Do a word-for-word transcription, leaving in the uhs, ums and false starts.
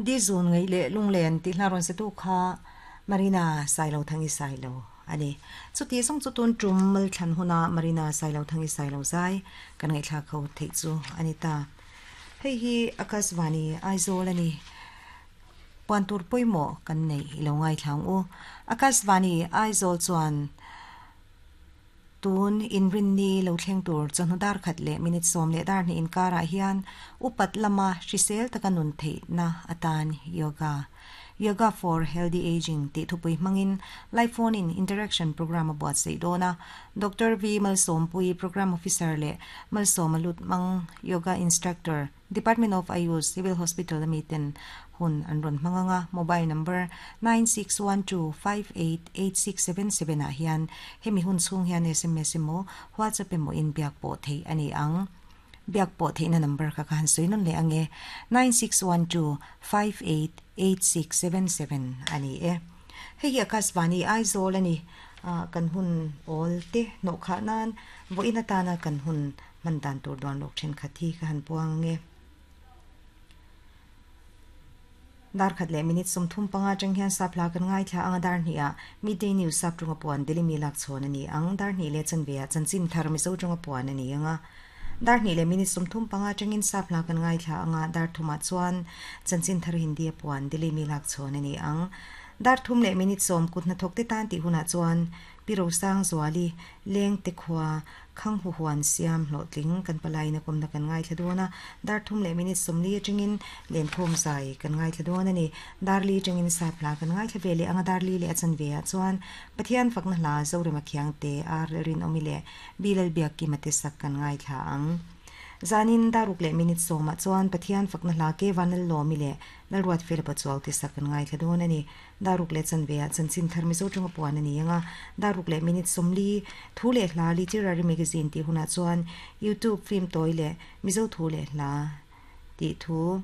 Di zun ngai le lunglen ti hla ron se tu kha Marina Sailo Thangi Sailo ani. Chu ti song chu tun tum mal thlan huna Marina Sailo Thangi Sailo zai kan ngai thla kho thei chu ani ta. Hei hi Akashvani Aizawl ani. Puan tur pawimawh kan nei ilo ngai thlang u. Akashvani Aizawl chuan tun inrin ni lo thleng tur chawhnu dar khat leh minute sawm leh dar hnih inkarah hian upat lama hrisel taka nun theihna atan yoga Yoga for Healthy Aging tih thupui hmangin live phone in interaction program a buatsaih dawn a. Doctor V Malsawmpui Program Officer leh Malsawma Lutmang Yoga Instructor Department of Ayush Civil Hospital ami ten hun an rawn hmang anga mobile number nine six one two five eight eight six seven seven ah hian hemi hun chhung hian sms emaw WhatsApp emaw in biak pawh theih a ni ang. Biak pawh theihna number kha ka han sawi nawn leh ange nine six one two five eight eight six seven seven a ni e. Hei hi Akashvani Aizawl a ni. Kan hun awl te hnawh khah nan vawiin atana kan hun hman dan tur duan lawk thenkhat hi ka han puang ange. Dar khat leh minute sawmthum panga atang hian sap hla kan ngaithla anga dar hnih ah Midday News sap tunga puan Delhi mi lak chhawn a ni ang. Dar hnih leh chanve ah chanchin thar Mizo tunga puan a ni anga dar hnih leh minute sawmthum panga atangin sap hla kan ngaithla anga dar thumah chuan chanchin thar Hindi a puan Delhi mi lak chhawn a ni ang. Dar thum leh minute sawm kut hnathawk te tan tih hunah chuan Pi Rosang Zuali leng te khua Khang hu huan siam hlawhtling kan palaina kawmna kan ngaithla dawn a, dar thum leh minute sawmli atangin lenkhawm zai kan ngaithla dawn a ni. Dar li atangin sap hla kan ngaithla ve leh anga dar li leh a chanve ah chuan Pathian fakna hla Zorema Khiangte, Ar Rinawmi leh Bilal Biakkima te sak kan ngaithla ang. Zanin daruk leh minute sawmah chuan Pathian fakna hla ke Vanlal Lawmi leh Lalruat Fela Pachuau te sak kan ngaithla dawn a ni. Daruk leh chanve ah chanchin thar Mizo tawnga puan a ni ang a, daruk leh minute sawmli thu leh hla Literary Magazine tih hunah chuan YouTube film tawi leh Mizo thu leh hla tih thu